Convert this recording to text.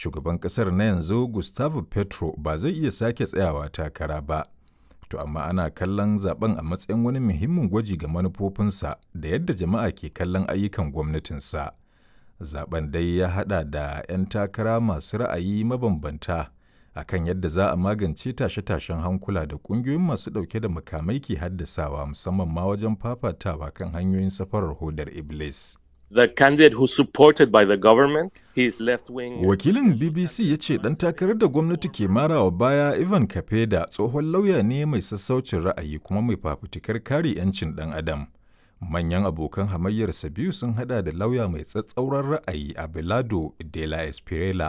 Shugaban ƙasar na yanzu Gustavo Petro ba zai iya sake tsayawa takara ba. To amma ana kallon zaben a matsayin wani muhimmin gwaji ga manufofinsa da yadda jama'a ke kallon ayyukan gwamnatinsa. Zaben dai ya haɗa da 'yan takara masu ra'ayi mabambanta a kan yadda za a magance tashe-tashen hankula da ƙungiyoyin masu ɗauke da makamai ke haddasawa, musamman ma wajen fafatawa kan hanyoyin safarar hodar Iblis. The candidate who's supported by the government, his left wing. Wakilin BBC ya ce ɗan takarar da gwamnati ke marawa baya, Ivan Kapeda, tsohon lauya ne mai sassaucin ra'ayi kuma mai fafutukar kare 'yancin ɗan adam. Manyan abokan hamayyarsa biyu sun hada da lauya mai tsatsauran ra'ayi Abelardo de la Espriella